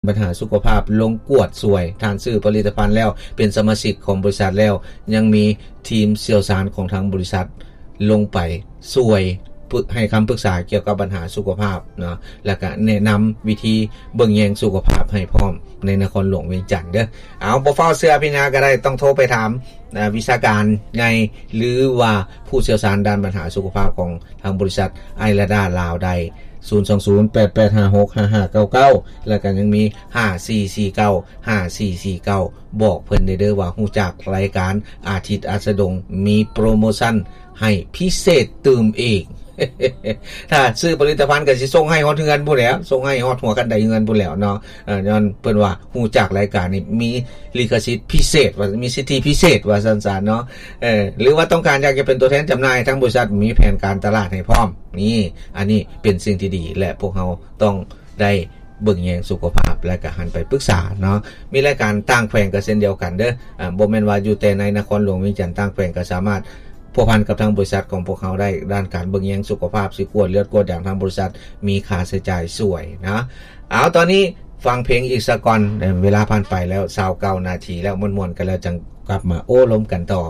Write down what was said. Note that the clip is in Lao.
ບັນຫາສຸຂະພາບລົງກວດຊ່ວຍ. ທ່ານຊື້ຜະລິດຕະພັນແລ້ວ ເປັນສະມາຊິກຂອງບໍລິສັດແລ້ວ ຍັງມີທີມຊ່ຽວຊານຂອງທາງບໍລິສັດລົງໄປຊ່ວຍ ປຶກ ໃຫ້ຄຳປຶກສາກ່ຽວກັບບັນຫາສຸຂະພາບເນາະ ແລ້ວກະແນະນຳວິທີເບິ່ງແຍງສຸຂະພາບໃຫ້ພ້ອມໃນນະຄອນຫຼວງວຽງຈັນເດີ້. ເອົາ ບໍ່ຟ້າວເຊື່ອອະພິນຍາກໍໄດ້ ຕ້ອງໂທໄປຖາມ ອາ ວິຊາການໃຫຍ່ ຫຼືວ່າຜູ້ຊ່ຽວຊານດ້ານບັນຫາສຸຂະພາບຂອງທາງບໍລິສັດໄອລາດາລາວໄດ້ ສູນສອງສູນ ແປດແປດຫ້າຫົກ ຫ້າຫ້າເກົ້າເກົ້າ ແລ້ວກໍຍັງມີ ຫ້າສີ່ສີ່ເກົ້າ ຫ້າສີ່ສີ່ເກົ້າ ບອກເພິ່ນໄດ້ເດີ້ວ່າຮູ້ຈັກລາຍການອາທິດອັດສະດົງ ມີໂປຣໂມຊັນໃຫ້ພິເສດຕື່ມອີກ. ຖ້າຊື້ຜະລິດຕະພັນກໍຊິສົ່ງໃຫ້ຮອດເຮືອນພຸ້ນແຫຼ້ວ ສົ່ງໃຫ້ຮອດຫົວຄັນໄດເຮືອນພຸ້ນແຫຼ້ວເນາະ. ເອີ ຍ້ອນເພິ່ນວ່າຮູ້ຈັກລາຍການນີ້ ມີລິຂະສິດພິເສດ ວ່າມີສິດທິພິເສດວ່າຊັ້ນຊະເນາະ. ເອີ ຫຼືວ່າຕ້ອງການຢາກຈະເປັນຕົວແທນຈຳໜ່າຍ ທາງບໍລິສັດມີແຜນການຕະຫຼາດໃຫ້ພ້ອມ. ນີ້ ອັນນີ້ເປັນສິ່ງທີ່ດີ ແລະ ພວກເຮົາຕ້ອງໄດ້ເບິ່ງແຍງສຸຂະພາບ ແລະ ກະຫັນໄປປຶກສາເນາະ. ມີລາຍການຕ່າງແຂວງກໍເຊັ່ນດຽວກັນເດີ້. ອາ ບໍ່ແມ່ນວ່າຢູ່ແຕ່ໃນນະຄອນຫຼວງວຽງຈັນ, ຕ່າງແຂວງກໍສາມາດພົວພັນກັບທາງບໍລິສັດຂອງພວກເຮົາໄດ້ ດ້ານການເບິ່ງແຍງສຸຂະພາບ, ຊິກວດເລືອດກວດຢາງ, ທາງບໍລິສັດມີຄ່າໃຊ້ຈ່າຍຊ່ວຍນະ. ເອົາ ຕອນນີ້ຟັງເພງອີກສາກ່ອນ, ເວລາຜ່ານໄປແລ້ວຊາວເກົ້ານາທີແລ້ວ, ມ່ວນໆກັນແລ້ວຈັ່ງກັບມາໂອ້ລົມກັນຕໍ່.